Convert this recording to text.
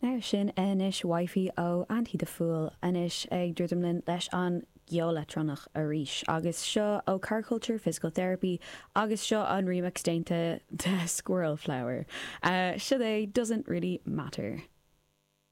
Now sin anois Wifey ó Andy the Fool anois ag druidim linn leis an gceol leictreonach arís agus seo ó Car Culture Physical Therapy agus seo an remix déanta de Squirrel Flower. Seo é Doesn't Really Matter.